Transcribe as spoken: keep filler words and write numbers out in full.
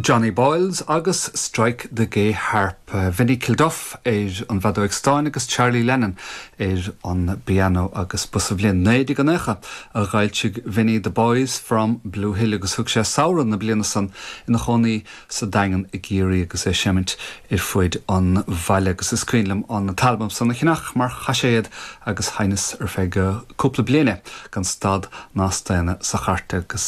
Johnny Boyles agus Strike the Gay Harp. Vinnie Kilduff ar an bhfeadóg stáin agus Charlie Lennon ar an bpianó agus ba sa bhliain naoi déag nócha a d'fhoilsigh Vinnie the Boys from Blue Hill agus thug sé samhradh na bliana san ina chónaí sa Daingean i gCiarraí agus é ag seimint ar fuid an bhaile agus is cuimhin liom an t-albam san a cheannach mar chaiséad agus sheinneas ar feadh cúpla bliana gan stad ná staonadh sa chairt agus